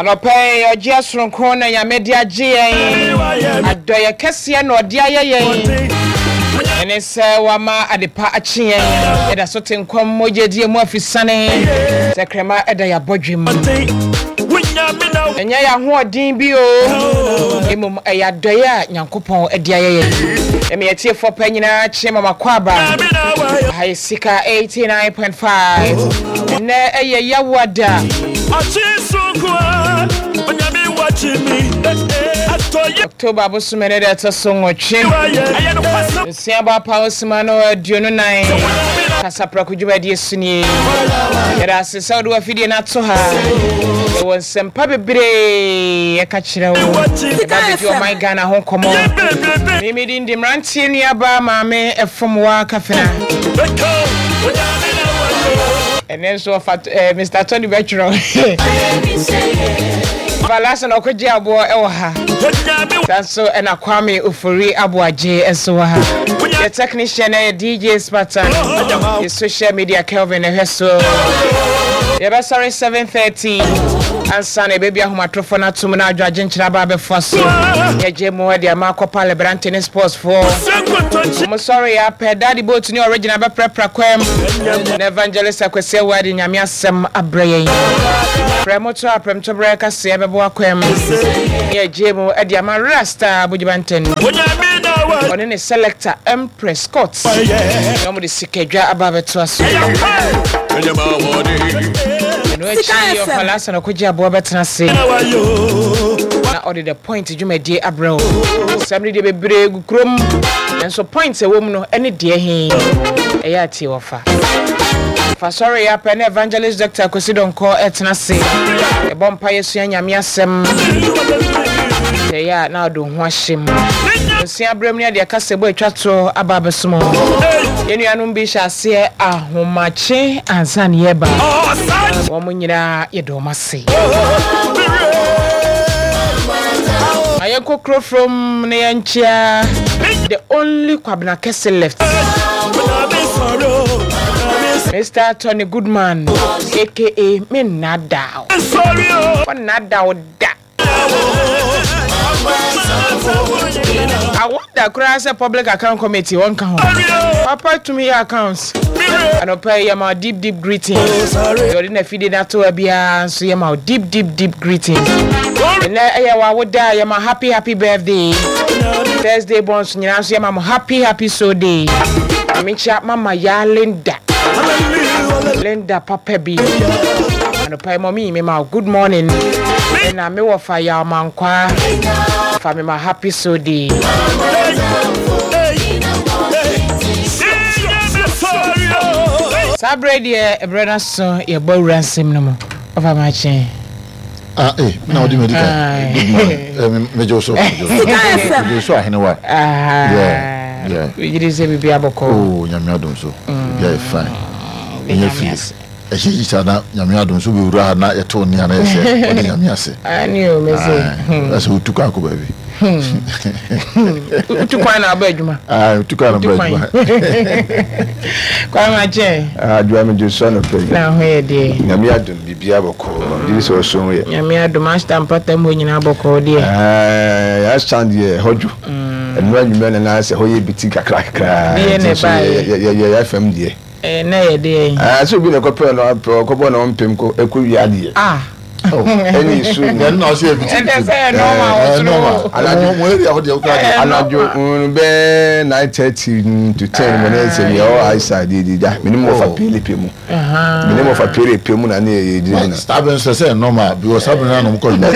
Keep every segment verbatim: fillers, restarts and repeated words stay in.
Anɔpɛ yi, ɔgye asoronko na Nyame de agye yɛn. Adɔyɛ kɛseɛ na ɔde ayɛ yɛn. Ɛne sɛ wama adepa akye yɛn. Yɛda so te nkɔm mogyadie mu afisane. Tɛkrɛma ɛda yɛ abɔdwem. Ɛnyɛ yɛ ahoɔden bi o. Mmom ɛyɛ adɔyɛ a Nyankopɔn de ayɛ yɛn. Ɛmɛ yɛtiefoɔ pɛ nyinaa kye mama kɔ aba. Aha yɛ Sika eighty-nine point five. Ɛnɛ ɛyɛ Yawoada. October bosome ne deɛ ɛtɔ so nwɔtwe. Nsia bɔ apa osima no aduonu nan. Kasaprɛko dwumadie so nie. Yɛda ase sɛ wode wafidie no ato ha. Yɛwɔ nsɛmpa bebree yɛka kyerɛ wo. Yɛba bɛdi ɔman Ghana ho nkɔmmɔ. Memedi ndi mmeranteɛ nuaba maame ɛfom wa kafena. Ɛnɛ nso ɔfa eh, Mister Tony bɛtwerɛ. Balasa na ɔkɔgye aboɔ ɛwɔ ha. Saa nso ɛna Kwame Ofori Aboagye nso wɔ ha. Yɛ technician ɛyɛ D J Spartan. Yɛ social media Kelvin ɛhwɛ so. Yɛbɛsɔre seven thirty ansa na ɛbɛbi ahomatorofo no atom na adwagye nkyerɛ aba abɛfoa so. Yɛgye mu de ama akɔpa Lebrante ne sportsfoɔ. Mo sɔre yɛ apɛ Daddy Boat ne original bɛprɛprɛ kwam. Na Evangelist Akwasi Awuade Nyame asɛm abrɛ yɛn. Prɛ moto a prɛmtoberɛ kaseɛ bɛboa kwam. Ne yɛgye mu de ama Rasta Bujibanten. Ɔne ne selector Empress Scott. Na wɔde sikadwa aba abɛtoa so. Ɛno akyi ɔfala asa na ɔkɔgye aboa bɛtena ase. Na ɔde the point dwumadie abrɛ wo. Sɛm no deɛ bebree gu kurom. Nanso point a ɛwɔ mu no ɛne deɛ he ɛyɛ atie wɔfa. Fa sɔre yɛ apɛ ne Evangelist Doctor Kwesi Donkɔ ɛtena ase. Ɛbɔ mpa yɛsua Nyame asɛm. Sɛ ɛyɛ a na ɔde wo ho ahyɛ mu. Nsia berɛ mu ne adeɛ kasa bɔ atwa to aba abɛsom. Yɛn nuanom bi hyɛ aseɛ ahomakye ansa ne yɛba. Wɔn mo nyinaa yɛde wɔn ase. Ma yɛnkɔ kuro from na yɛnkyea the only Kwabena Kɛse left. Mister Tony Goodman A K A me nnadaw. Wɔnnadaw da. Awɔda koraa sɛ Public Account Committee wɔnka ho. Papa tumi yɛ accounts. Anɔpa yi yɛma wo deep deep greetings. Deɛ ɔde n'afidie no ato ha biara nso yɛma wo deep deep deep greetings. Ɛnɛ ɛyɛ w'awoda a yɛma happy happy birthday. Thursday borns nyinaa nso yɛma mo happy happy so day. Mekyia Mama Ya Linda. Linda papa bi. Anɔpa yi mɔmi mema wo good morning. Ɛna mewɔ fa yaw mankwa. Fa mema happy so day. Saa berɛ deɛ ɛberɛ no so yɛbɔ awura nsɛm no mu. Ɔfa makye. Ah, eh, na ɔde madi kan. Good morning. Eh, me- megye wo so. Megye wo so. Megye wo so ahene wa. Yeah, yeah. Wegyere sɛ biribi abɔkɔ. Oh, Nyame adom so. Biribi ayɛ fine. Ɛnyɛ Nyame fie. ase. Ɛhyɛ yi saa na Nyame adom so bɛwura ha na yɛto nne a na yɛsɛ ɔde Nyame ase. Ane o mese. Aye. Ɛsɛ wotu kwan akɔ baabi. Wotu kwan na aba adwuma. Ah, wotu kwan na Wotu aba kwan. adwuma. Kwan makye. Adwoa, megye so anɔpa yi. Na ho yɛ deɛ. Nyame adom, biribia bɔkɔɔ. Gyere sɛ ɔso ho yɛ. Nyame adom, ashta mpata mu hɔ nyinaa bɔkɔɔ deɛ. Yɛasan deɛ ɛhɔ dwo. Ɛno anwummerɛ na na sɛ hɔ yɛ biti kakra kakra. Deɛ na nti nso ɛbaeɛ. yɛ- yɛ- yɛ yɛafam deɛ. Ɛɛ na yɛ deɛ. Ah, sɛ obi na ɛkɔpɛ no apɛ ɔkɔbɔ na ɔmpem kɔ ɛkɔ wie adeɛ. Ah. Ɛne nsuo Ɛno na ɔsɛ yɛ biti. Ɛnɛ sɛ yɛ normal wɔ Eh, soro. normal. Anadwo- Mo mo area hɔ deɛ wokora deɛ. Eh, anadwo mm, bɛɛ nine thirty to ten mu ne sɛ yɛ ɔ aisa de de gya mene mo fa Oh. pele pe mu mene mo fa pele pe mu na ne yɛ yɛ gyina. Saa bɛn nso sɛ normal because saa bɛn na ɔmo kɔ adwuma.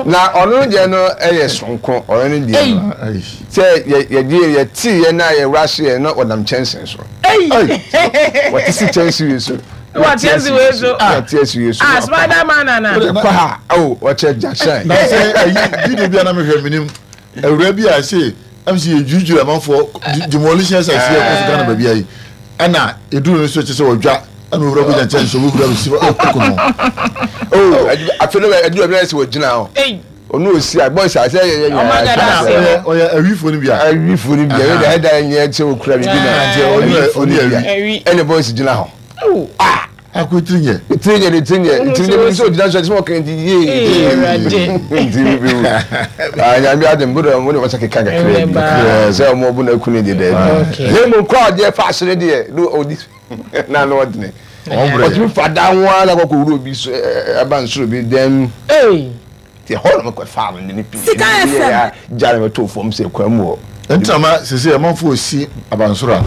Na ɔno deɛ no ɛyɛ sonko, ɔno no deɛ no Ayi. sɛ yɛ yɛgye yɛte yɛ na yɛwura so yɛ na ɔnam kyɛnsee so. Ayi. Wɔte si kyɛnsee wei so. Wɔte asi wei so. Wɔte asi wei so. Ah, Spider Man ana. Kɔ ha o, ɔkyɛ gyahyɛn. Na sɛ ayi video bi a na mehwɛ menim awura bi a sɛ ɛm sɛ yɛdwiridwiri amanfoɔ demolition exercise yɛ kɔ so Ghana baabi ayi ɛna ɛduru no so kyɛ sɛ wɔdwa ɛna owura kɔgya nkyɛn so owura bɛsi ɛkɔ no. O afei no ɛdu ɛbi sɛ wɔgyina hɔ. Ei. Ɔno osi a boys a sɛ yɛ yɛ Ɔmo agada ase. ɔyɛ ɔyɛ awifoɔ no bi a awifo no bi a ɛda ɛda nyɛ sɛ okura biribi na Nti ɔno yɛ- awifo no ɔno yɛ bi a awi. ɛna boys gyina hɔ. Oh. Akɔ tiri nyɛ. Tiri nyɛ de tiri nyɛ tiri nyɛ bi sɛ ogyina so ɛsɛ ɔkàn ti yie. Nti bi bi ah nyame adi mbo dɛ mo de wɔn sɛ keka kakra bi sɛ ɔmo ɔbo na eku ne deɛ dɛbi. Ne mu nkɔ adeɛ fa asere deɛ no odi na ano ɔdene. Ɔtumi fa dan ho ara kɔkɔ wuro bi so ɛba nsoro bi dɛm. Ti ɛhɔ na mo kɔ fa no ne pii. Sika F M. Gya na mo to fam sɛ kwan mu hɔ. Ntina ma sese ɛmanfo osi abansoro a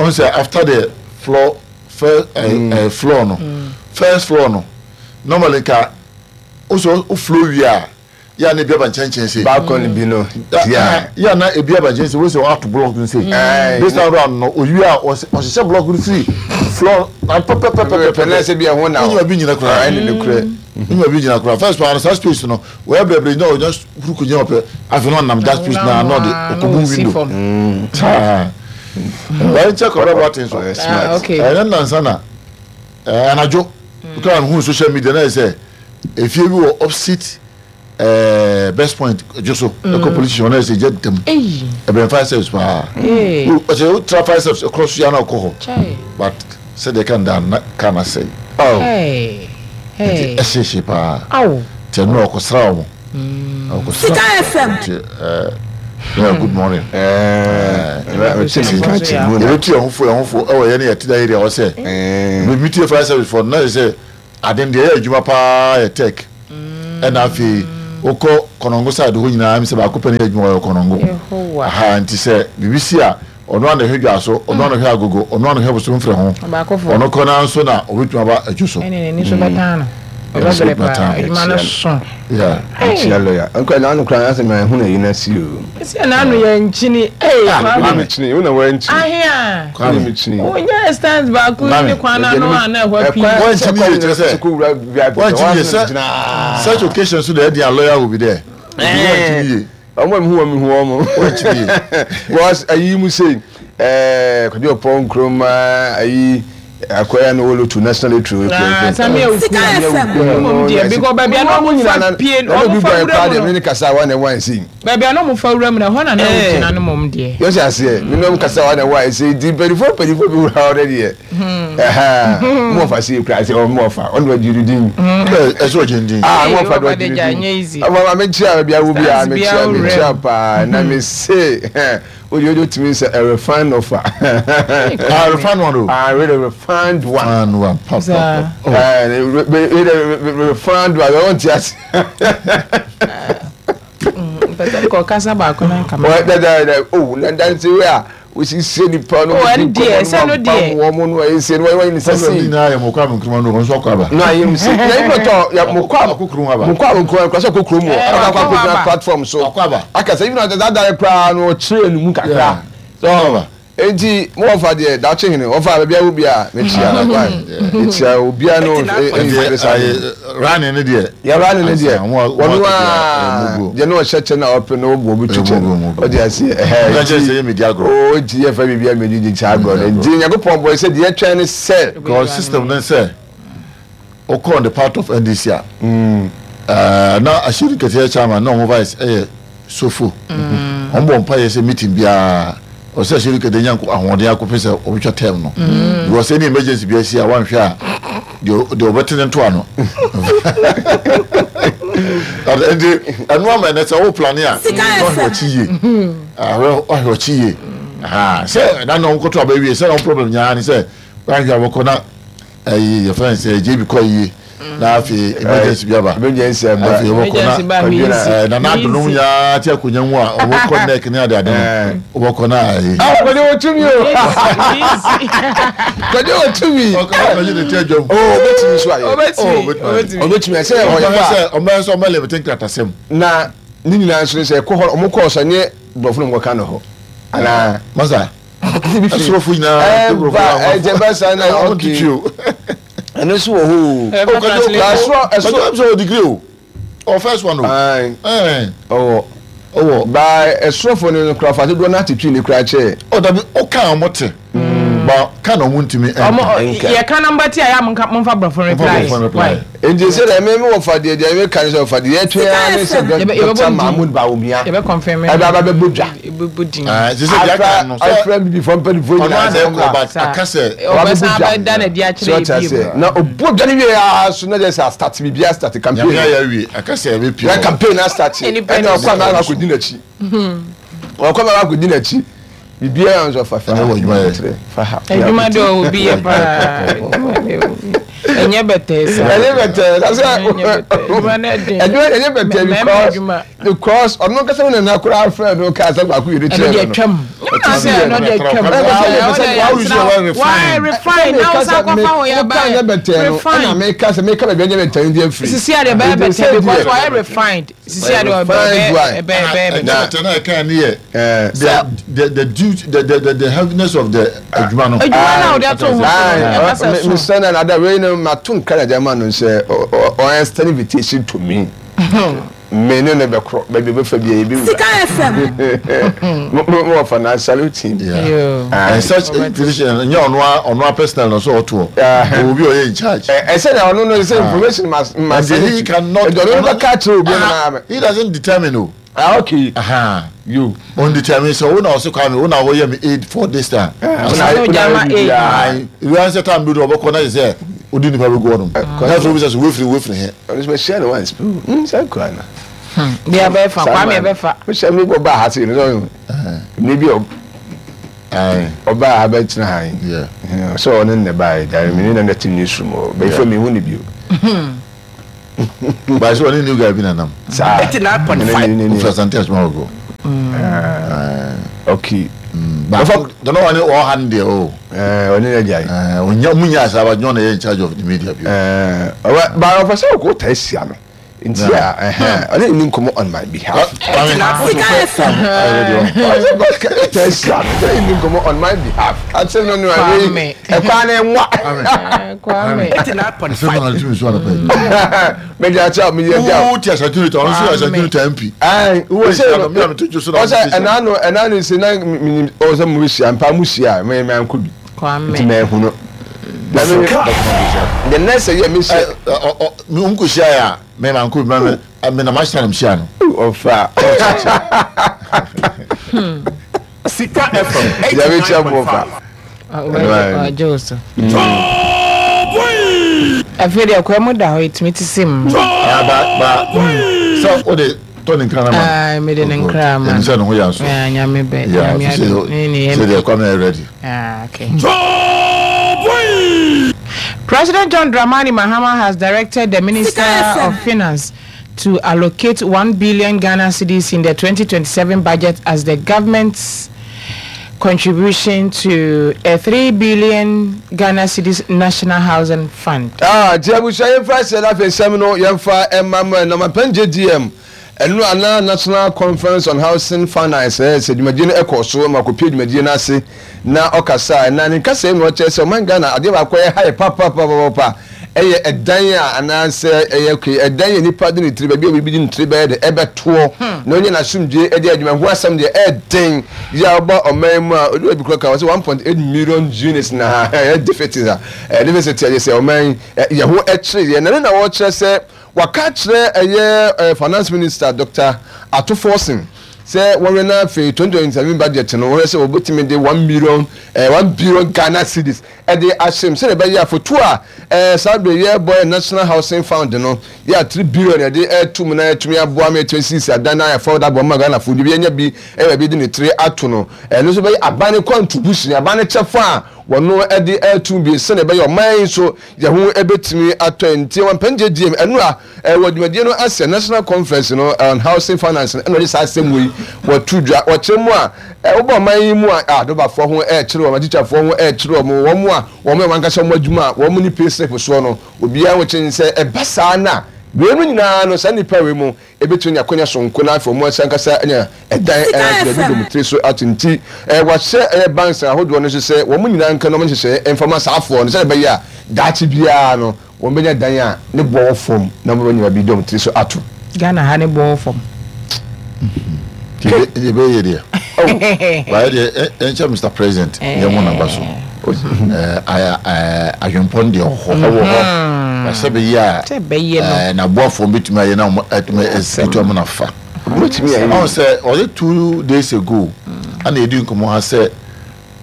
ɔn sɛ after the floor. First uh, mm. uh, floor no mm. first floor no normally ka also o floor wi a ya na ebi aba nkyɛnkyɛn se balcony bi no ya ya na ebi aba nkyɛn se wo se ato block no se this time round no oyi a ɔhyehyɛ block no firi floor na pɛpɛpɛpɛ na se bi ɛho na onyima bi nyina kora ɛne ne kura onyima bi nyina kora first floor saa space no wɔyɛ brɛbrɛ nyina ɔnya huru ko nyina ɔpɛ afei no ɔnam that space na na ɔde ɔkɔbu window saa. Well, check out about things. Ah, okay. And then Nansana, anadwo, because I'm on social media na say if you were opposite uh, Best Point, just so mm. a police station, say get them. Hey. E fire service pa. Hey. O say o tra fire service across ya na alcohol. But say they can down can say. Oh. Hey. Hey. E she pa. Aw. Te no ko sra o. Sika F M. Eh yeah, good morning. Eh, you home for home for oh, any at the area or say, we meet your fire service for now. Say, I didn't the Juma pa tech, and I feel Oko Konongo side who you I'm say, I could penny Juma Konongo. And to say, B B C or no one the Hugaso, or none of her go, or none of her soon from home, or no corner sooner, or which about a juice. Yeah, yeah. Uncle, I don't cry as a man who you see you. It's an anno, eh, Kwame, you know, when I hear. Oh, yes, stands back. Such occasions, so the lawyer will be there. I'm who I'm who I'm. Was a you say, eh, could you upon Chroma, I acquire no to national true. Sika F M. Because baby, I know baby, I know for room na hona na na mom dear. Yes, I say, me no kasa na why say di twenty-four twenty-four people already here. Eh, mo fa see cry say mo fa on do din. Eh, so din. Ah, mo fa do din. Ah, me chia bia wo bia me chia me chia pa na me say o you do to me say a refined offer. Ah, refined one. Ah, really refined one. Refined one. Pop, pop, pop. Eh, refined one. I want to ask. But kasa baako na nka. Well, that that oh, that's where we see see the pan. Oh, and dear, say no dear. Woman no say no why ni say. Say na ya mo kwa mo kruma no so kwa ba. No, I am say. Na you talk ya mo kwa mo kruma ba. Mo kwa mo kruma so ko krom o. Aka kwa ko platform so. Akwa ba. Aka say even that that kra no train mu kakra. So enti mo ofa de da che hene ofa ba bia wo bia me chia na kwa. E chia obi a no e running ne de. Ya running ne de. Wonu a je no cheche na open no bo bi tuche. O de ase eh. Na che se media agro. O ji e fa bibia me di cha agro. Nti Nyankopɔn boy se de twen ne sell. Because system no say o on the part of N D C a. Mm. Eh na Ashiri Kete chairman na mo vice eh sofo. On bo mpa ye se meeting bia. O se Ashiri Kete nyanko ahode akopese obetwa term no. Because any emergency bia si a wan hwe a de de obetene to ano. And the anu ama na se wo plan a no hwe chi ye. Ah hwe chi ye. Ah se na no nkoto aba wie se no problem nya ni se wan hwe aboko na eh your friend say J B ko yi na afi emergency bia ba. Emergency ba. Afi oboko na na na dunu ya ti akonya mu a oboko neck ni ade ade no. Oboko na eh. Ah ko de otumi o. Ko de otumi. O ko de ti adwam. Oh obetumi so aye. Obetumi. Obetumi se o ya se o ma so o ma le think atasem. Na ni nyina so se ko ho o mo ko so ne brofo no ka no ho. Ana masa. Asrofo nyina brofo. Eh je ba sa na okay. And so who? Oh, so so degree o. Or first one o. Eh. Oh. Oh, by a stroke no craft do na titwi ne kra che. Oh, that be o kan omote. Ba kan o ntimi. Omo ye kan number ti aya mo fa brofo reply. Nti se da me me wo fa de de me kan so fa de ye twa ne se Doctor Mahmoud Bawumia. Ye be confirm. E ba ba be bodwa. ebubu din. Afra bibi fɔ mpanyinfoɔ nyinaa sɛ ɔno aka sɛ ɔbɛsan abɛda na di akyerɛ ebi mu na obu dwa ne wie aa so na yɛ sɛ start bibi a start campaign nyame ayɛ wie aka sɛ ɛbɛ pie na campaign na start ɛna ɔkɔ anaa akɔdi n'akyi ɔkɔ anaa akɔdi n'akyi bibi ayɛ nso fa fa fa adwuma de obi yɛ paa ɛnyɛ bɛtɛ sa ɛnyɛ bɛtɛ sɛ ɛnyɛ ɛnyɛ bɛtɛ because because ɔno kasa ne nana koraa afrɛ no kaa sɛ baako yɛ ne kyerɛ no ɛno deɛ twam ɛno deɛ twam why refine na wosan kɔfa wo yɛ ba ɛnyɛ bɛtɛ no ɛna meka sɛ meka baabi ɛnyɛ bɛtɛ no deɛ firi sisi adeɛ bɛyɛ bɛtɛ because why refined sisi adeɛ ɔbɛ bɛ bɛ bɛtɛ na ɛka ne yɛ the the the duty the the the heaviness of the adwuma no adwuma na ɔde ato ho so mesɛ na nada wei no mato nkra na gyama no sɛ ɔyɛ extend invitation to me me ne ne bɛkorɔ baabi bɛfa bi a yɛbɛwura Sika F M mo wɔ na salute him. And such invitation nyɛ ɔno ɔno a personal no so ɔtoɔ obi ɔyɛ in charge. Ɛsɛ na ɔno no sɛ information must must he cannot ɔno bɛka kyerɛ obi na he doesn't determine o. Ah, okay. Aha. You. On determine so una also come una wo me aid for this time. Una una aid. You answer time do oboko na say odi nipa be go on. Na so we say we free we free here. On is share the ones. Hmm, say kwa na. Hmm. Dia be fa kwa me be fa. Me share me go ba ha say no. Me bi o. Ai. Oba ha be tina ha. Yeah. So on ne ba da me na na team newsroom o. Be for me hu ne bi o. But so only new guy been anam. eighty-nine point five. Ufra small go. Okay. But don't know any all hand there oh. Eh, oni na jai. Eh, onya munya asaba John in charge of the media bi. Eh, but officer go test ya no. Nti a eh oni ni nkomo on my behalf. Test ya no. Ni nkomo on my behalf. I say no no I e kwa na nwa. Kwame. eighty-nine point five. Me ja cha me ja. Wo ti asatuni to onso asatuni to M P. Eh, wo se no me am to so na. O se ena no ena no se na o se mu hia mpa mu hia me me anko bi. Kwame. Ti me hu no. The next year me se me unko hia ya me ma anko bi me me na ma hia na hia no. Ofa. Sika F M. Ya me chia mo fa. Ah, Joseph. Afei de akwa mu da hɔ etimi ti sim. Ah ba ba. So o de to ne nkra na ma. Ah me de ne nkra ma. Em se no ho ya so. Ah nyame be. Nyame ado. Ni ni. So de akwa me ready. Ah okay. President John Dramani Mahama has directed the Minister of Finance to allocate one billion Ghana cedis in the twenty twenty-seven budget as the government's contribution to a three billion Ghana cedis National Housing Fund. Ah, Jebu yemfa se na fe sem no yemfa emma na ma J D M enu ana National Conference on Housing Finance eh se dwumadie no ekoso ma kopie dwumadie na ase na okasa na ne kasa no che se man Ghana ade ba kwa high pa pa pa pa eye edan a ananse eye ke edan ye nipa de ne tiri ba bi obi de ne tiri ba de ebeto na onye na sumdie e de adwuma ho asem de eden ya oba oman mu a obi obi kroka one point eight million units na e deficit a deficit ye se oman ye ho e kire ye na na wo kire se waka kire eye finance minister Doctor Ato Forson se wo na fe twenty twenty-seven budget no wo se obotimi de one million one billion Ghana cedis e de ahyem se be ya foto a eh sabe ye boy National Housing Fund no ya three billion e de etum na etumi aboa me twenty-six adan na ya fo da bo ma Ghana fo bi nya bi e be de ne three ato no e no so be abane contribution abane chefo a wono e de etum bi se ne be your man so ye ho ebetimi ato nti won pen J D M enu a e wodwumadie no ase National Conference no on Housing Finance no de sa asem wi wotu dwa wo kyerɛ mu a wo man yi mu a adobafo ho e kyerɛ wo atikyafoɔ ho e kyerɛ wo wo mu a wo mu wankasa mo adwuma a wo mu ni pay slip so no obi a wo kyerɛ sɛ e basa na we mu nyina no sa nipa we mu ebetu nya konya so nko na afo mu asankasa nya edan e bi dom tiri so atinti e wa hye e banks ahodoɔ no so sɛ wo mu nyina nka no mo hyehyɛ emfama saafo no sɛ be ya daakye bia no wo benya dan a ne bɔ fom na mo nya bi dom tiri so ato Ghana ha ne bɔ fom ye be ye there. Oh, why the Mister President, ye mo na baso. Eh eh adwempon de ho ho. Na se be ye a. Se be ye no. Na boafo betumi aye na atumi esitu am na fa. Ɔn sɛ ɔde two days ago ana yɛdi nkɔmmɔ ha sɛ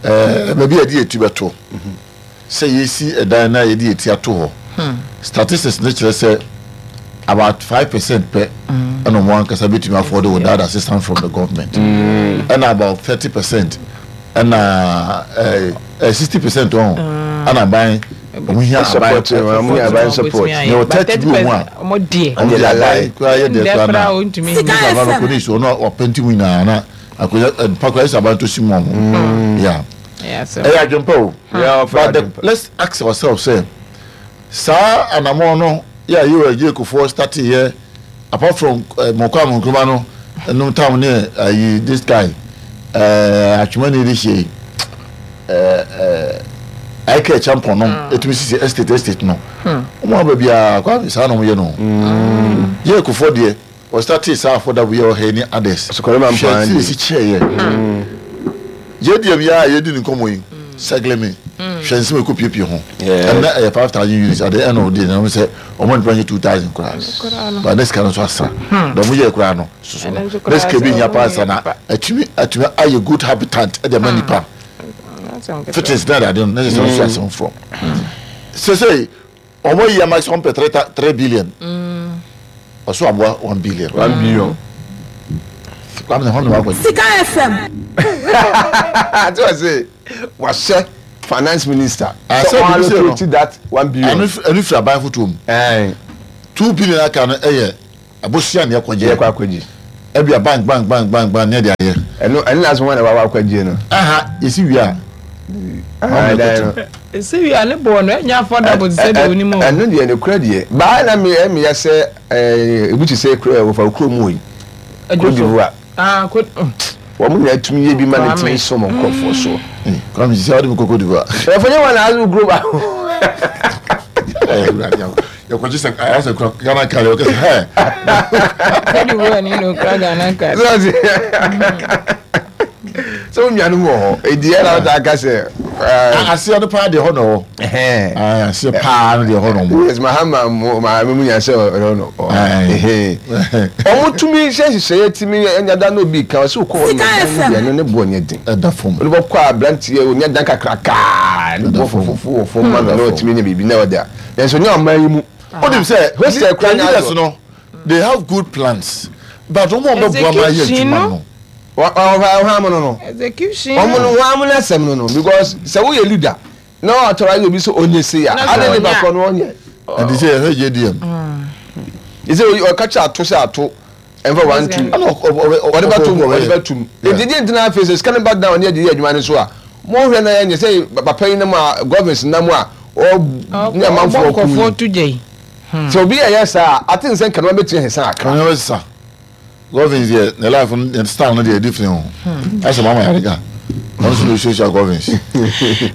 ɛɛ baabi a yɛde yɛti bɛto sɛ yɛsi ɛdan na yɛde yɛti ato hɔ, statistics ne kyerɛ sɛ about five percent pɛ ɛna ɔmo ankasa bɛtumi afford without assistance from the government, ɛna about thirty percent ɛna ɛɛ ɛɛ sixty percent ɔn ɛna aban ɔmo hia aban support, ɔmo hia aban support. Yɛ wɔ thirty bi wɔ mu a ɔmo deɛ ɔmo de aban kura yɛ deɛ kura na ɔntumi Sika nípa aban F M. kò ní ìṣòro náà ɔpɛnti mu nyinaa na akonnwa ɛ mpakura ɛsɛ aban to si mu ɔmo yeah ɛyɛ adwempa o. Yeah, ɔfɛ But the, adwempa. let's ask ourselves sɛ saa anamɔ no yɛ a yɛwɔ agye kofoɔ start yɛ, apart from uh, mɔkɔ amonkroma no ɛnum tam ne ayi this guy ɛɛ atwomani de hyɛ ɛɛ ɛɛ ayika champon nom etumi sisi estate estate no wɔn aba biara kwame saa na wɔn yɛ no yɛ kofoɔ deɛ wɔ start saa affordable yɛ ɔhɛ ne others. Sokɔrɔ ma mpa. Hwɛ ti esi kyɛ yɛ yɛ deɛ bi a yɛdi ne nkɔmɔ yi sɛgilɛmi hwɛ nsɛm ekɔ piepie ho. Yeah. Ɛnna ɛyɛ five thousand units at the end of the day na wɔn sɛ ɔmo nipa nye two thousand koraa, but ne sika no nso asa na ɔmo yɛ koraa no soso no Ɛno nso ne koraa sika bi sɛ nya ɔmo paa sa yɛ na pa. atumi atumi ayɛ good habitat ɛde ama nipa fittings na ade no ne sɛ ɔso asɛm from sese ɔmo yi ama sɛ ɔmo pɛ three ta- three billion, ɔso aboa one billion. One billion. Kwame na hɔn na wakɔ. Sika F M. Ati wɔ se wahyɛ finance minister Ah, sɛ sɛ ɔn bibi sɛ no. allocate that one billion. ɛno ɛno firi aban foto mu. Ɛn Two billion aka no ɛyɛ abosia ne yɛ ɛkɔgye. kɔ akɔgye. Ɛbi a bank bank bank bank bank ne ɛde ayɛ. Ɛno ɛno na asoma na wawa akɔgye no. Aha yɛsi wie a Ah, dan no. Sɛ wi a ne bɔɔ no ɛnyɛ affordable te sɛ deɛ onim o. Ɛno deɛ ne kura deɛ baa na mi ɛmi yɛ sɛ ɛɛ ebi ti sɛ kura wɔfa kuro mu yi Cote d'Ivoire. Ah, Cote. Wɔn mu nyinaa tumi yɛ bi ma ne Kwame. tumi sɔmɔ nkurɔfoɔ so. Eh, Kwame sisi a wɔde mi kɔ Cote d'Ivoire. Ɛfɔ nyɛ wɔn na azu kuro ba. Yɛkɔgye sɛ ayɛ sɛ kura Ghana card yɛ kɛsɛ hɛ. Cote d'Ivoire ni na okura Ghana card. Sɛ wɔn nuanom wɔ hɔ edi ɛna wɔn ta aka sɛ ɛɛ Aseɛ no paa deɛ hɔ na wɔ. Ɛhɛn. Aseɛ paa no deɛ hɔ na wɔ. Yes, Mahama mo maame mu nya sɛ ɔno no. Aye. Ɔmo tumi hyɛ nhyehyɛeɛ tumi ɛnya da na obi kan ɔsɛ okɔ hɔ Sika no F M. deɛ no ne boɔ nyɛ den. Ɛda fam. Ɔno bɛkɔ a aberanteɛ onya dan kakrakaa ne boɔ fofofo wɔ fam ma no na ɔtumi nya biribi na ɔde a nanso nyɛ ɔman yi mu. O nim sɛ Hostel kura nya leaders adɔ. no, they have good plans, but wɔn a wɔbɛboa ma ayɛ Execution adwuma no. no. Ɔhɔ amu no no Execution. ɔmo no wɔn amu n'asɛm no no because sɛ woyɛ leader na ɔtɔrɔ ayɛ obi sɛ onye se a Na sɛ ade ne ɔnyɛ ba a- kɔ no ɔnyɛ. Ɛdi sɛ yɛhwɛ J D M. Ɛsɛ ɔka kyerɛ ato sɛ ato ɛnfa one two. Ɛna ɔ- ɔ- ɔ- Ɔde bɛ tum ɔ- ɔde bɛ tum. Yeah. Eti di ntina afei sɛ sika ne ba down ne yɛ de yɛ adwuma ne so a mo hwɛ na yɛ nyɛ sɛ papa yi nam a government nam a ɔ ne amanfoɔ ɔbɔ kum nkɔfoɔ to gya yi. Sɛ obi yɛ yɛ saa ate nsɛn kanoma bɛtumi ahesa akra. Kàn yɛn sisan Governs yɛ ne life no ne style no deɛ different o, ɛsɛ mama yɛrɛ ɔno nso na osuasua Governs.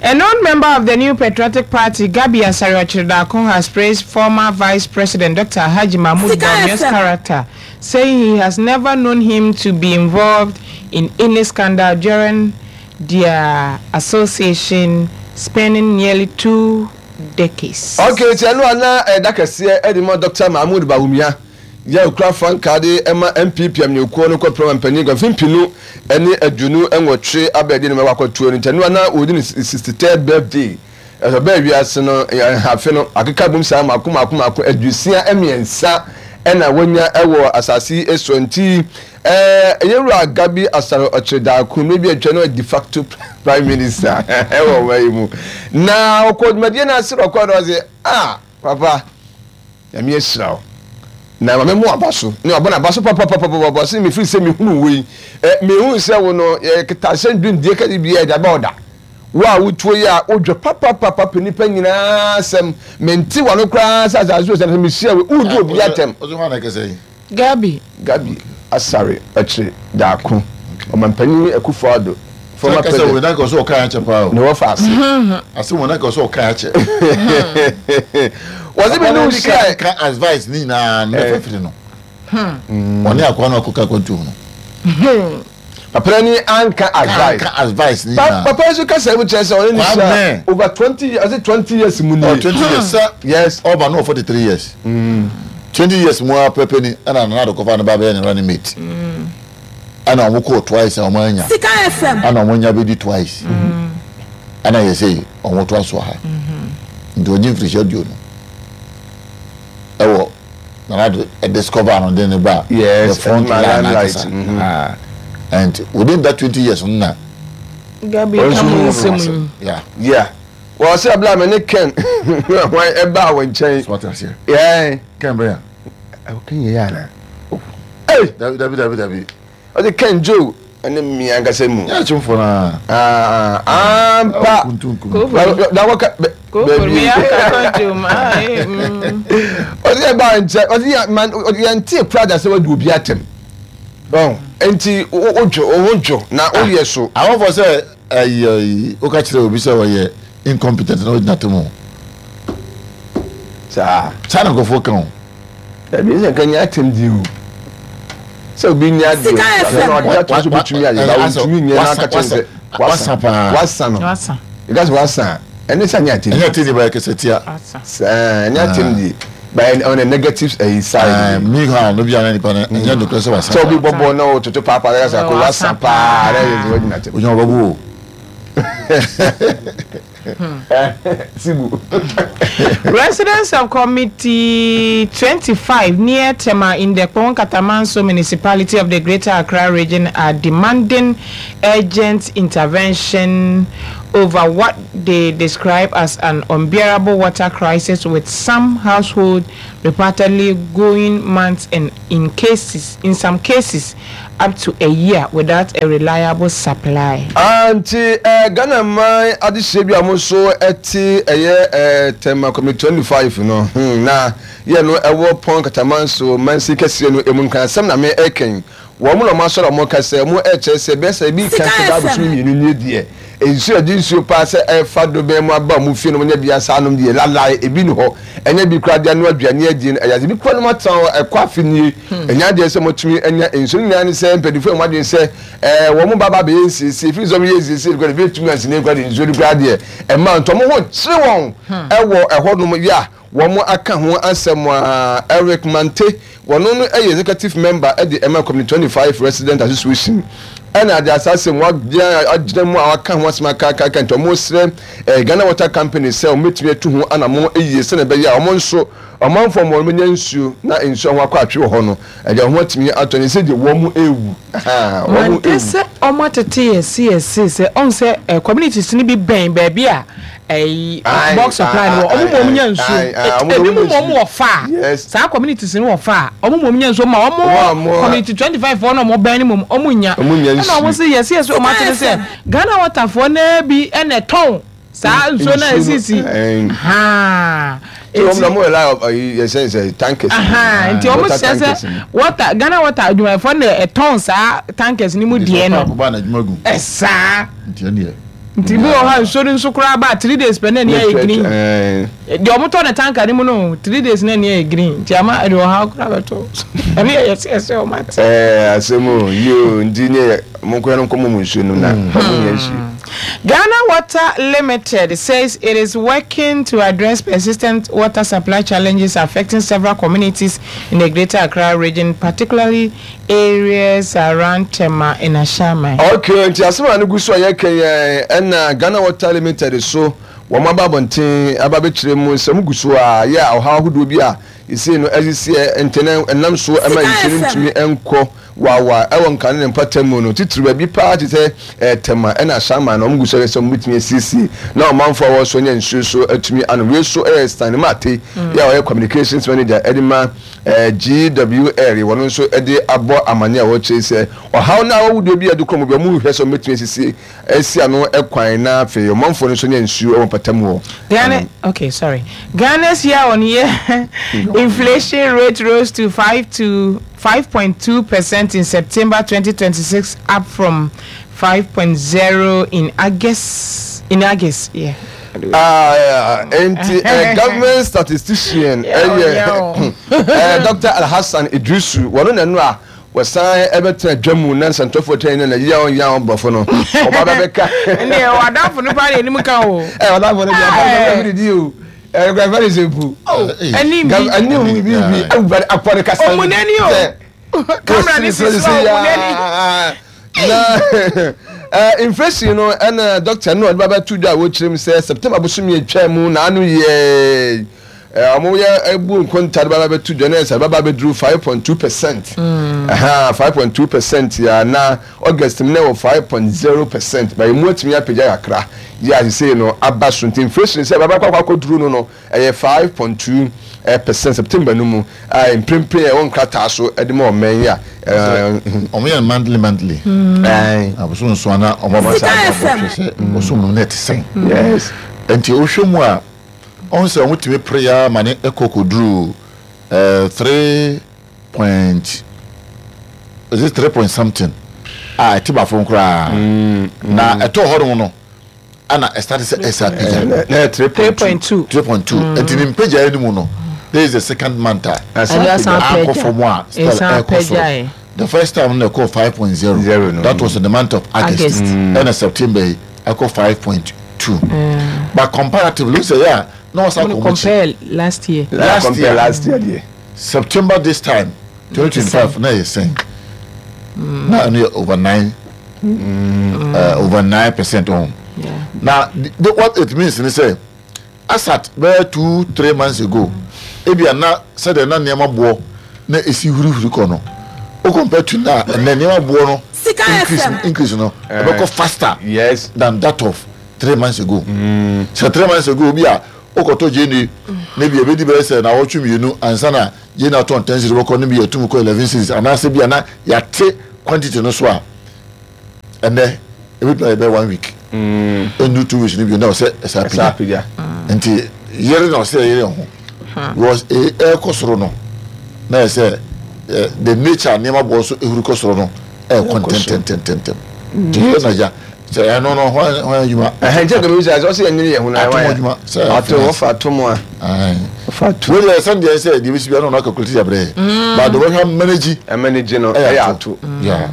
A known member of the New Patriotic Party, Gabby Asare Otchere-Darko, has praised former Vice President Doctor Alhaji Mahmoud Sika Bawumia's F M. character, saying he has never known him to be involved in any scandal during their association spanning nearly two decades. Okay, ti ɛnu ana ɛda kɛseɛ ɛde ma Doctor Mahmood Bawumia yɛ okura frankaa de ɛma N P P amanyɔkuo no kɔpere mpanyin gɔfin mpinu ɛne aduonu ɛnwɔtwe abɛɛde ne ma wakɔtuo no. Nti ɛnu ana ɔdi ne sixty third birthday ɛsɛ ɔbɛɛ wiase no ɛ afe no akeka bom saa mako mako mako aduosia mmiɛnsa ɛna wɔnya ɛwɔ asase yi so. Nti ɛɛ ɛyɛwura Gabby Asare Otchere-Darko mmiri bi atwa no de facto prime minister ɛwɔ ɔman yi mu na ɔkɔ dwumadie no ase ɔkɔ no ɔsɛ ah, papa, Nyame ahyira wo na maame mu aba so ne ɔbɔ n'aba so papapapapa sɛ mefiri sɛ mehunu wo yi ɛ mehu sɛ wo no yɛketa hyɛn dwendie kɛde bi yɛ ɛde aba ɔda wo a wotuo yi a wodwa papapapa pɛ nipa nyinaa sɛm mente wano koraa sɛ asase so sɛ mehyia wo wodi obi atɛm. Ɔsɛ hɔn na ɛkɛsɛ yi. Gabby. Gabby Asare Otchere-Darko, ɔmampanyin Akufo Addo former kɛsɛ wo president na kɛ ɔsɛ ɔka akyɛ paa o. Ne wɔfa ase. Ase wo na kɛ ɔsɛ ɔka akyɛ. Wɔse me ne wo hyia ka advice ne nyinaa no mɛfɛ firi no ɔne akoa no akɔka akwantuom no. Papa ni anka advice. Ka advice ne Pa- nyinaa. Papa nso kasa mu kyerɛ sɛ ɔne ne Kwame. hyia over twenty years, ɔsɛ twenty years mu Ɔ nie. twenty years sɛ yes ɔba no wɔ forty three years. Twenty years mu a pɛpɛ ni ɛna Nana Addo kɔfa ne ba bɛyɛ ne running mate. Ɛna ɔmo kɔɔ twice a ɔmo anya. Sika F M. Ɛna ɔmo nya bɛdi twice. Ɛna yɛ sɛ ɔmo to aso ha. Nti ɔgye mfirihyia aduonu. Ɛwɔ Nana Addo discover no de ne ba. Yes, the front ɛma line limelight, ankasa. mhm. Ah. And within that twenty years no na. Gabi Ɔnso ka mo hu nsɛm yi. Yeah. Yeah, wɔn sɛ abila mi ne Ken wɔn ɛba wɔn nkyɛn. So what I say? Yɛn Ken Bryan. Ɛwɔ Ken yɛ yɛ ana ee? Dabi, dabi, dabi, dabi. Ɔde Ken Joe ɛne mi ankasa mu. Yɛ akyemfo na. Aa, ampa. Kuntunkum. Kofo. Na wɔka Kofo mi aka kɔnjom. Ah, eh, mm. Ɔde ɛba nkyɛn, ɔde yɛ man, ɔde yɛn ti ekura da sɛ wɔde obi atɛm ɔn nti o o dwo o ho dwo na o yɛ so. Awɔfɔ sɛ ɛyi ɛyi woka kyerɛ obi sɛ ɔyɛ incompetent na ogyina to mu. Saa. Saa na nkurɔfoɔ ka o. Ɛbi sɛ nka nyɛ atɛm di o sɛ obi nya adeɛ Sika F M. Na ɔde ato so bitumi ayɛ na ɔntumi nyɛ na aka kyerɛ sɛ wasa paa. Wasa no. Wasa. Ɛka sɛ wasa a, ɛne sɛ nyɛ atɛm. Ɛnyɛ atɛm di ba, yɛ kɛsɛ tia. Wasa. Saa ɛnyɛ atɛm di but on the negative ɛyi ɛɛ side. Mi hàn no bi a na nipa no ɛnyɛ nokorɛ sɛ wasa. Sɛ obi bɔ bɔɔl na ɔtoto paapaa na ɛka sɛ ko wasa paa na ɛyɛ sɛ wagyina atɛm. Ogyina ɔbɛbu o. Sibu. Residents of Committee twenty-five near Tema in the Kpone Katamanso Municipality of the Greater Accra Region are demanding urgent intervention over what they describe as an unbearable water crisis, with some households reportedly going months and in cases in some cases up to a year without a reliable supply. Anti ɛ Ghana man adehyɛ bi a mo nso ɛte ɛyɛ ɛ Tema Community twenty five no hmm, na yɛ no ɛwɔ Kpone Katamanso mansi kɛseɛ no emu nkansɛm na me ɛkɛn wɔn mo na wɔn asɔrɔ a wɔn kasa mu ɛkyerɛ sɛ bɛyɛ sɛ ebi kan sɛ baabu so mmienu nie deɛ, nsuo ɛde nsuo paa sɛ ɛfa do bɛn mu aba wɔn fie no, wɔn nyɛ bi asa anom deɛ lalae ebi ni hɔ, ɛnyɛ bi kura deɛ ano aduane adi no ɛyɛ ade bi kura no mu atena hɔ ɛkɔ afi nie, ɛnyɛ adeɛ sɛ wɔtumi anya nsuo no nyinaa ne sɛ mpanyinfoɔ a wɔn adwene sɛ ɛɛ wɔn mo ba ba bɛyɛ nsiesie fi sɛ wɔn yɛ nsiesie kura de bi tumi ansini kura de nsuo no kura deɛ ɛma ntɔn mo ho kyerɛ wɔn ɛwɔ ɛhɔ nom yɛ a wɔn aka ho asɛm a. Eric Mante, wɔn no yɛ executive member ɛde ɛma Community twenty five Resident Association, ɛna ade asase mu agyina agyina mu a waka ho asɛm akaakaka, nti wɔn srɛ ɛɛ Ghana Water Company sɛ wɔn bɛtumi atu ho anamɔ yie sɛnɛ ɛbɛyɛ a wɔn nso ɔmanfoɔ wɔn bɛnya nsuo na nsuo ho akɔ atwe wɔ hɔ no, ɛdeɛ wɔn atumi atɔ ne sɛ deɛ wɔn mu ewu wɔn mu Mante ewu. Sɛ ɔmo atete yɛ si yɛ si sɛ ɔn sɛ ɛ communities ni bi bɛn baabi a ɛyi Aye, bulk supply no wɔ, ɔmo mɔ ɔmo nya nsuo. aye, aye, ɔmo ebi ɔmo mu nya mɔ ɔmo nsuo. wɔ fa Yes. saa communities ni wɔ fa a ɔmo mɔ ɔmo nya nsuo ma Ɔmo a ɔmo ɔmo a- community twenty five foɔ na ɔmo bɛn ne mu ɔmo nya. Ɔmo nya Ɛna ɔmo nsuo. sɛ yɛ si yɛ si ɔmo atete sɛ Ghana Water foɔ naa bi ɛna ɛtɔn saa nsuo na nsuo no, esisi ɛn. haa. Tí wɔn na mo yɛ la ɔyi yɛ sɛ sɛ tankers. Aha, nti ɔmo Water hyɛ sɛ tankers no. water Ghana Water adwumayɛfoɔ na ɛtɔn saa tankers ni mu deɛ no. Ba na adwuma gu. Ɛsaa. Nti ɛneɛ. Nti bi wɔ hɔ a nsuo no nso koraa ba three days pɛ na ani ayɛ green. Ɛɛ. Deɛ ɔmo tɔ ne tanker ne mu no, three days na ani ayɛ green, nti ama ɛde ɔhaw koraa bɛtɔ ɛne yɛ yɛsɛ ɛsɛ ɔmo ate. Ɛɛ asɛm o yio, nti ne yɛ mo nkɔyɛ no nkɔmɔ mu nsuo no na ɔmo nya nsuo. Ghana Water Limited says it is working to address persistent water supply challenges affecting several communities in the Greater Accra Region, particularly areas around Tema and Ashaiman. Okay, nti asɛm a no gu so a yɛka yɛn ɛna Ghana Water Limited so wɔn aba abɔnten aba abɛkyerɛ mu sɛ mo gu so a yɛ a ɔhaw ahodoɔ bi a yɛsei no ɛsisi ntɛnɛ ɛnam so ɛma Sika nsuo no F M. ntumi ɛnkɔ wawa ɛwɔ nkane ne mpata mu no, titiri baabi paa te sɛ ɛɛ Tɛma ɛna Ahyɛnman na wɔn gu so yɛ sɛ wɔn bɛtumi asiesie na ɔmanfoɔ a wɔwɔ so nya nsuo so atumi ano. Wei so ɛyɛ Stanley Mate yɛ a ɔyɛ communications manager ɛde ma ɛɛ G W L, wɔn nso ɛde abɔ amane a wɔkyerɛ sɛ ɔhaw na awɔwodeɛ bi a ɛde kɔn mu bi wɔn rehwɛ sɛ wɔn bɛtumi asiesie asi ano ɛkwan na afei ɔmanfoɔ no nso nya nsuo ɛwɔ mpata mu hɔ. Ghana, okay, sorry. Ghana's year-on-year inflation rate rose to five to five point two percent in September twenty twenty-six, up from five point zero in August. In August, yeah. Ah, nti eh, government statistician Yeah, ɛyɛ yeah. eh, Doctor Alhassan Idrisu, wɔn na no a wɔsan ɛbɛtena dwa mu na nsɛntɔfoɔ twɛn ne na yaw yaw borɔfo no ɔba bɛbɛka. Ne wadafo no pa na anim ka o. Ɛ wadafo no deɛ ɔba bɛbɛ di o. Eh grandfather is ebu. Oh, ani bi. Ani bi bi awurade akɔre kasa. Omunani o. Camera ni sisi omunani. Na eh inflation no na doctor no ɔde baba to dwa wo kyerem sɛ September bosom ye twa mu na anu ye omo ye ebu nkonta de baba to dwa na sɛ baba beduru five point two percent. Aha five point two percent ya na August mu na wɔ five point zero percent. Ba emu atumi apagya kakra. Ya say no aba so nti inflation sɛ baba kwa kwa duru no no ɛyɛ five point two percent September no mu a mprempre e won krata so e de ma oman ya omo ye monthly monthly eh aboso nso ana omo ba sa sɛ oso no net sen. Yes, enti ohwe mu a on sɛ wotimi prayer mane ekokoduru eh three point is it three point something ah eti ba fo kra na eto ho no ana e start sɛ S P na three point two three point two enti ni mpagya ni mu no. This is the second month. The first time they call five point zero. Zero, no. That was in the month of August. August. Mm. And in September, I call five point two. Mm. But comparatively, say yeah, no one compare last year. Last compare year, last year, yeah. September this time, twenty twenty-five. Now you're saying, now only over nine, mm. uh, over nine percent on. Yeah. Now the, what it means is say, as at two three months ago. Ebi ana said na niam bo na esi huri huri ko no o compare to na na niam bo no increase increase no e go faster, yes, than that of three months ago. Mm. So three months ago bi a o ko to je ni na bi e be di be say na wo twu mienu ansa na je na ton ten zero ko no bi etum ko eleven six ana se bi ana ya te quantity no so a and then e be be one week. Mm. And two weeks ni bi na o say esa pija. Nti yere na o say yere ho was a air kosoro no na say the nature nema bo so ehuru kosoro no eh content ten ten ten ti na ja say no no hwan hwan adwuma eh nje ko mi say so say nyere ye hu na hwan ato wo fa to mo a fa to we dey send dey say dey bi no na calculate ya bre but the one manage manage no eh ato. Yeah.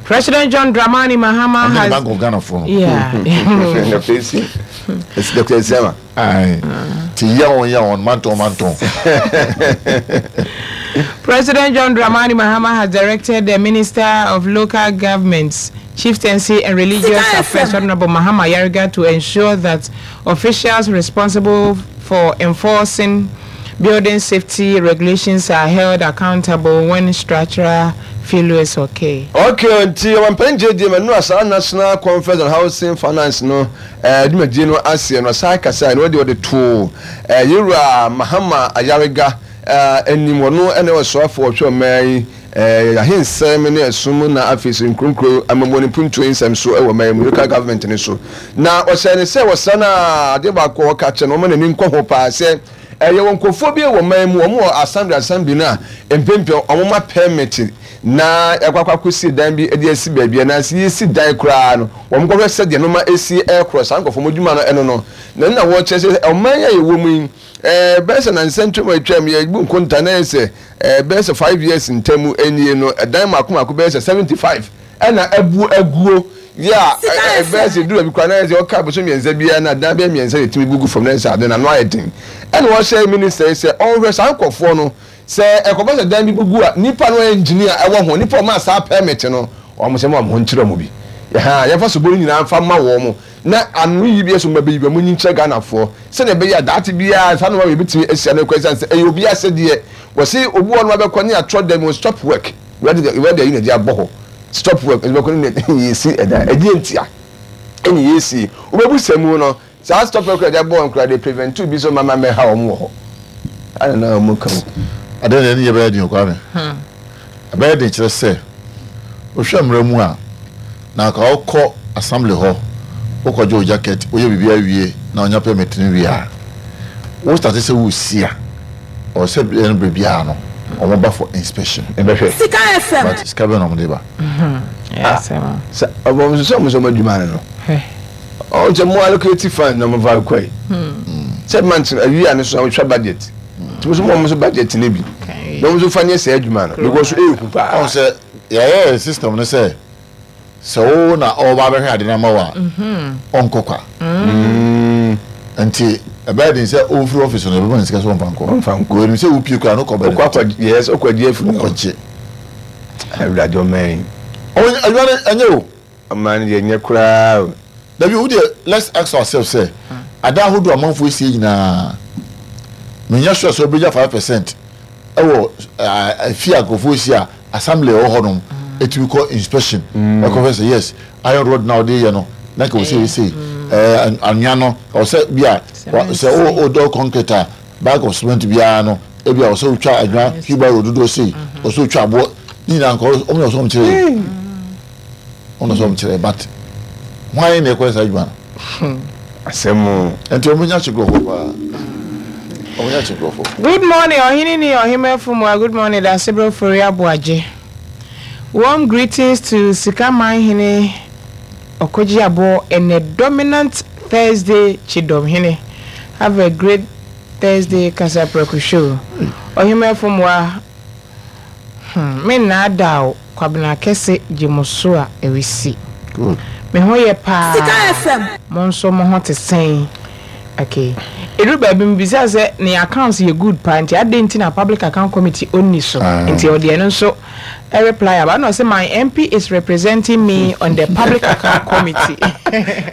President John Dramani Mahama has Bank of Ghana for yeah the face it's Doctor Zema. Aye. Ti yaon yaon manton manton. President John Dramani Mahama has directed the Minister of Local Governments, Chieftaincy and Religious Affairs, Honorable Mahama Ayariga, to ensure that officials responsible for enforcing building safety regulations are held accountable when structural failures okay. Okay, until one pen J D no asa National Conference on Housing Finance no eh dwumadie no ase no sa kasa no de de to eh Yewura Mahama Ayariga eh enim no ene osofo otwa mai eh ahensem ne esum na afisi nkronkro amamoni puntu ensem so e wo mai local government ne so na o se ne se wo sa na ade ba ko ka che no mo ne nkɔ ho pa se eh ye won kofo bi wo mai mu omo assembly assembly na empempem omo ma permit na ekwakwa kwesi dan bi edi esi baabia na si esi dan kura no wo mkɔhwɛ sɛ de no ma esi air cross ankɔfo modwuma no eno no na na wo kyerɛ sɛ ɔman ya yewo mu eh bɛsɛ na nsɛntwem atwam ye bu nkonta na sɛ eh bɛsɛ five years ntamu enie no dan mako mako bɛsɛ seventy-five ɛna abu aguo ya bɛsɛ duru bi kura na sɛ ɔka boso miɛnsa bia na dan bɛ miɛnsa de timi bugu fam na sɛ ade na no ayɛ den ɛna wɔhyɛ minister sɛ ɔnhwɛ saa nkɔfoɔ no sɛ ɛkɔbɔ sɛ dan bi bugu a nipa no engineer ɛwɔ ho nipa ma saa permit no ɔmo sɛ mo ho nkyerɛ mo bi ha yɛfa so bori nyinaa fa ma wɔ mo na anu yi bi so ma bi mo nyi kyerɛ Ghanafoɔ sɛ na ɛbɛyɛ adaate biara saa no ma yɛbɛtumi asia no kɔ sɛ ɛyɛ obi asɛ deɛ wɔse obi wɔ no abɛkɔ ne atɔ dem stop work wɛde wɛde yi na de abɔ hɔ stop work ɛbɛkɔ ne yɛsi ɛda ɛdeɛ ntia ɛne yɛsi wobɛbu sɛ mu no saa stop work ɛde abɔ nkora de prevent bi so mama mɛha wɔn wɔ hɔ ana na wɔn ka ade na ɛne yɛbɛyɛ den Kwame ɛbɛyɛ den kyerɛ sɛ wohwɛ mmerɛ mu a na ka wokɔ assembly hɔ wokɔgye wo jacket woyɛ biribi awie na wonya permit no wie a wo start sɛ wosi a ɔwɔ sɛ ɛno biribiara no ɔmo ba for inspection ɛbɛhwɛ Sika F M but sika bɛn na ɔmo de ba sɛ ɔmo sɛ ɔmo sɛ ɔmo adwuma no no ɔmo sɛ mo allocate fund na ɔmo fa kɔ yi sɛ month awie a ne so ɔmo hwɛ budget tí mo sọ mo so budget ne bi na mo so fa nye sɛ adwuma no because ehu paa ɔmo sɛ yɛyɛ system no sɛ sɛ wo na ɔba abɛhwɛ ade na ma wa ɔnkɔ kwa nti Ɛbɛyɛ den sɛ ɔfiri office no, ɛbɛma ne sika sɛ ɔmfa nkɔ. Ɔmfa nkɔ. Wɔnim sɛ wopie koraa no kɔ bɛne. Ɔkɔ akɔ, yes, ɔkɔ agye afiri hɔ. Ɔkɔgye. Awurade, ɔman yi. Ɔwɔ adwuma no ɛnyɛ o. Ɔman no deɛ, nyɛ koraa o. Dabi, wo deɛ, let's ask ourselves sɛ ada ahodoɔ amanfoɔ esie nyinaa, menya sure sɛ ɔbɛgya five percent ɛwɔ ɛfi a nkurɔfoɔ esi a assembly ɛwɔ hɔ nom etumi kɔ inspection, ɛkɔ fɛ sɛ yes, iron rod na ɔde yɛ no na nka wɔsɛ yɛ ɛɛ anwea no ɔsɛ bi a sɛ o o dɔ concrete a, bag of cement biara no, ebi a ɔsɛ otwa anwea wheelbarrow dodoɔ sei, ɔsɛ otwa aboɔ ne nyinaa nka ɔmo yɛ ɔsɛ ɔmo kyerɛ yɛ, ɔmo sɛ ɔmo kyerɛ, but hwan na ɛkɔ saa adwuma no? Asɛm o. Nti ɔmo nya kyekurɔfoɔ paa, ɔmo nya kyekurɔfoɔ. Good morning, Ɔhene ni Ɔhemafo mu a. Good morning, Dasebro Fori Aboagye. Warm greetings to Sikaman Hene Okogye Abo and a dominant Thursday Chidom Hene. Have a great Thursday Kasapreko show. Ɔhemafo mu a, hmm, me nna o, Kwabena kɛse gye mo so a ɛresi. Good. Me ho yɛ paa. Sika F M. Mo nso mo ho te sɛn? Okay. Ɛduru baabi mbisa sɛ ne accounts yɛ good paa, nti adɛn nti na Public Account Committee ɔnni so? Ah. Nti ɔde ɛno nso reply aba na ɔsɛ, "My M P is representing me on the Public Account Committee."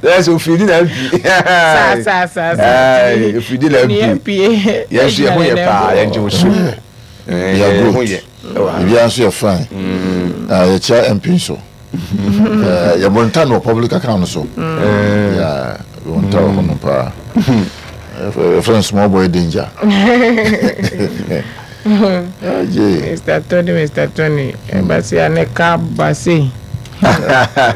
Yes, ofiri na M P. Saa saa saa saa. Ofiri na Ne M P. M P. Yɛn nso yɛ ho yɛ paa, yɛn gye wo so. We are Yɛ ho good. yɛ ɛwɔ ha. Biribiara nso yɛ fine. Ah, yɛkyia M P nso. Eh, yɛbɔ nta no wɔ public account no so. Yeah, yɛbɔ nta wɔ hɔ no paa. Yɛfrɛ no small boy danger. Agye. Mister Tony, Mister Tony, ɛbasi aneka basi.